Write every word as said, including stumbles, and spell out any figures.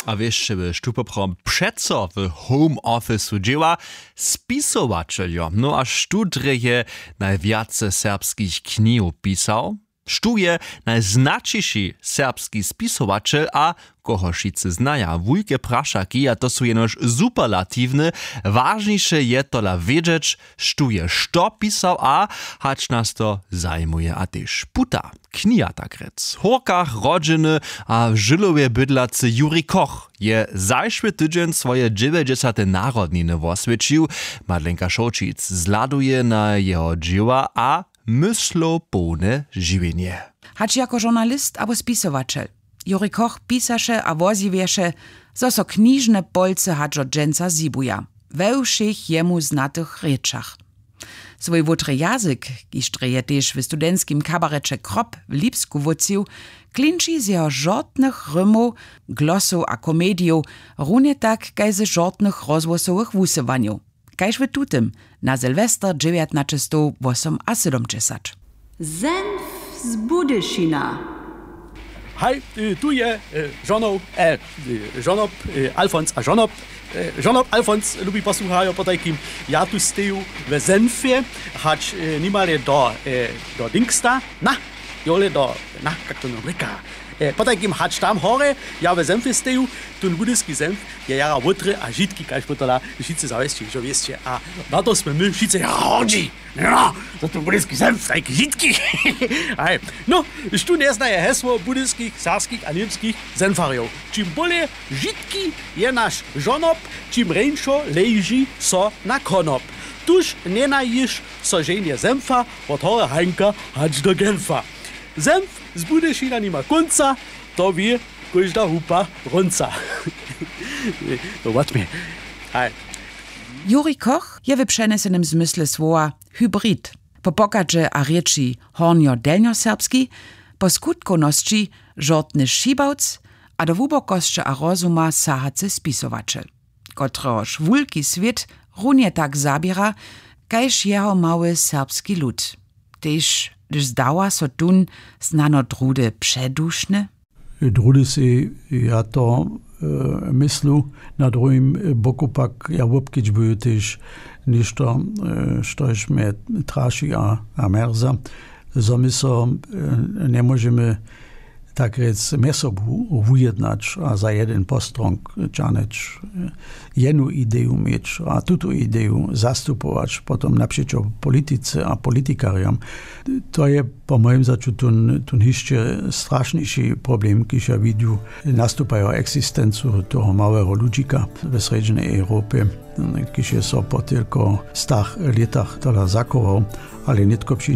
A wěsće wy štó poprawom přeco w home officeu dźěła? Spisowaćeljo. No a štó drje je najwjace serbskich knihow pisał? Štó je najznaćiši serbski spisowaćel a koho wšitcy znaja? Wulke prašaki, a to su jenož superlatiwne. Wažniše je tola wědźeć, štó je što pisał a hač nas to zajimuje a tež puta. Kniha tak rjec w hórkach rodźeny a w žylowej bydlacy Juri Koch je zašły tydźeń swoje dźewjećdźesate narodniny woswjećił. Madlenka Šołćic zhladuje na jeho dźěła a myslopołne žiwjenje. Hač jako žurnalist abo spisowaćel, Juri Koch pisaše a wozjewješe, zo so knižne polcy hač do dźensa zhibuja we wšěch jemu znatych rěčach. Swój wótry jazyk, kiž drje je tež w studentskim kabareće Krop w Lipsku wótřił, klinči z jeho žortnych rymow, glosow a komedijow, runje tak kaž ze žortnych rozhłosowych wusyłanjow, kaž w tutym na Sylwester dźewjatnaćestow wosomasydomdźesat. Senf z Budyšina. Haj, y, tu je, y, žonow, e, y, žonob, y, Alfons a žonob. Y, žonob Alfons, lubi posłuchajo, potajkim, ja tu steju we Senfje, hač, y, nimale do, y, do Dingsta, na, jole do, na, kak to nam rěka, y, potajkim, hač tam hore, ja we Senfje steju, tón budyski Senf je jara wótry a žitki, kaž potom wšitcy zawěsće, hižo wěsće, a na to smy my wšitcy jara hordźi. No, to tu budyski Senf, tajki žitki. Aj. No, štó njeznaje hesło budyskich, serbskich a němskich Senfarjow? Čim bóle žitki je naš žonob, čim reńšo leži so na konop. Tuž njenajiš so ženje Senfa wot hory Hanka hač do Genfa. Senf z Budyšina nima kónca, to wě kóžda hupa Rónca. To wot mje. Aj. Juri Koch je w přenjesenym zmysle słowa hybrid. Po pochadźe a rěči hornjodelnjoserbski, po skutkownosći žortny šibawc a do hłubokosće a rozuma sahacy spisowaćel, kotrehož wulki swět runje tak zaběra kaž jeho mały serbski lud. Tež hdyž zdawa so tón snano druhdy předušny. Druhdy sej ja to, e, myslu. Na druhim boku pak ja wobkedźbuju tež něšto, e, štož mje traši a, a mjerza, zo my so, e, njemóžemy tak rjec mjez sobu wujednać a za jedyn postrong ćahnjeć, e, jenu ideju měć a tutu ideju zastupować potom napřećo politice a politikarjam. To je po mojim začu tón, tón hišće strašniši problem, kiž ja widju, nastupajo eksistencu toho małeho ludźika we srjedźnej Europje, kiž je so po tylko stach lětach tola zachował, ale nětko při